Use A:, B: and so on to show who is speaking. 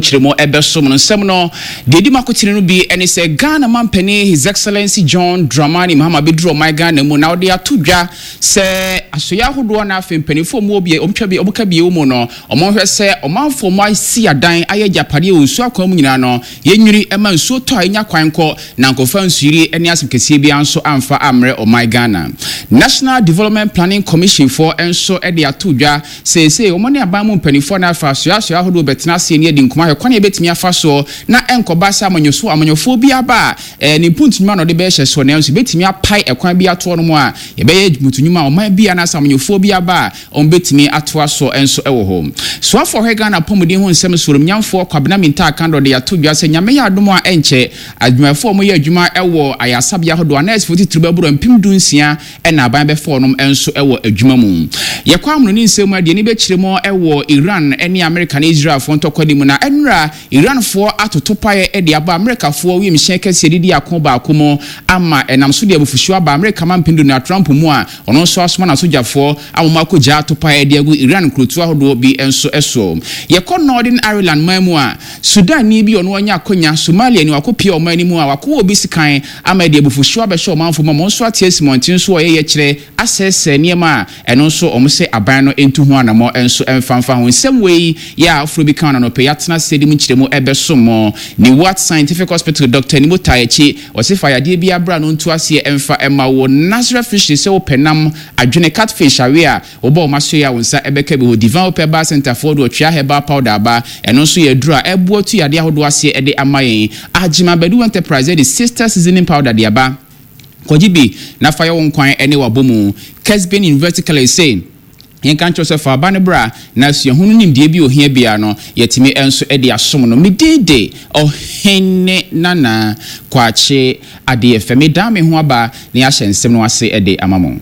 A: nkyerɛmu ɛbɛsom no. Nsɛm no deɛ ɛdi mu akotene no bi ne sɛ Ghana mampanin His Excellency John Dramani Mahama bɛduru ɔman Ghana mu na ɔde ato dwa sɛ asoeɛ ahodoɔ na afei mpanimfoɔ mu bi ɔmtwa bi ɔmka bi mu no, ɔmo hwɛ sɛ ɔmanfoɔ mu asi adan ayɛ agyapadeɛ wɔ nsuo akwan mu nyinaa no, yɛnwiri ɛma nsuo tɔ a ɛnya kwan kɔ na nkɔfa nsuyiri ne asɛm kɛseɛ bi nso amfa ammerɛ ɔman Ghana. National Development Planning Commission foɔ nso de ato dwa seesei wɔn ne aban mu mpanimfoɔ no afa asoasoa ahodoɔ bɛtena ase ne adi nkɔmmɔ ahwɛ kwan a yɛbɛtumi afa soɔ na ɛnkɔba sɛ amanyɔso amanyɔfoɔ bi aba a ne mpuntunwuma na ɔde bɛhyɛ soɔ, nanso yɛbɛtumi apae ɛkwan bi atoɔ no mu a yɛbɛyɛ mpuntunwuma a ɔman bi anaasɛ amanyɔfoɔ bi aba a wɔn bɛtumi atoa so nso wɔ hɔ. Soafoɔ hwɛ Ghana apɔmuden ho nsɛm so, nyamfoɔ Kwabena Mintah Akandoh de ato dwa sɛ Nyame yɛ adom a, ɛnkyɛ adwumayɛfoɔ a wɔyɛ adwuma wɔ ayaresabea ahodoɔ, anɛɛsefoɔ titiri bɛboro 16,000 ɛna aban bɛfa wɔn nso wɔ adwuma mu. Yɛkɔ amono ne nsɛm mu a, deɛ ni bɛkyerɛ mu wɔ Iran ne Amerika ne Israelfoɔ ntɔkwa no mu, na ɛnora Iranfoɔ atoto paeɛ de aba Amerikafoɔ wiemhyɛn kɛseɛ didi ako baako mu ama ɛnam so de abufuhyew aba Amerika mampanin Donald Trump mu a ɔno nso asoma n'asogyafoɔ ama wɔn akɔgya ato paeɛ de agu Iran nkurotoɔ ahodoɔ bi nso so. Yɛkɔ Northern Ireland man mu a, Sudanni bi ɔno anya akɔnya Somalia ni wakɔpie ɔman no mu a wakɔwɔ obi sikan ama de abufuhyew abɛhyɛ ɔmanfo mu a wɔn nso ate asi mmɔnten so a ɔyɛyɛ kyerɛ asɛesɛe nneɛma a ɛno nso wɔn sɛ aban no ntu ho anammɔ nso mfamfa ho. Nsɛm wei yɛ a afoforɔ bi ka no anɔpɛ yɛatena ase de mu nkyerɛmu ɛbɛsom mo. Ne Wat Scientific Hospital Dr Nimo taa akyi, ɔse fa yadeɛ bi abra no ntu aseɛ ɛmfa ɛma wo. Nazareth Fishery sɛ wopɛ nam adwene catfish awe a wobɔ wɔn aso yi a wo nsa ɛbɛka bi hɔ. Divine Hope Herbal Center foɔ de ɔtwea herbal powder aba, ɛno nso yɛ aduro a ɛboa tu yadeɛ ahodoɔ aseɛ ɛde ama yɛn. Agyema Badu Enterprise ɛde Sister seasoning powder de aba, kɔgye bi na fa yɛ wo nkwan ɛne wabɔ mu. Kesbin University College sɛ yɛnka nkyerɛ sɛ fa aba no bra na suahunu nimdeɛ bi ohia bia no yɛtumi nso de asom no. Medin de Ɔhene Nana Kwakye Adeɛ Fɛ. Medan me ho aba na yɛahyɛ nsɛm no ase de ama mo.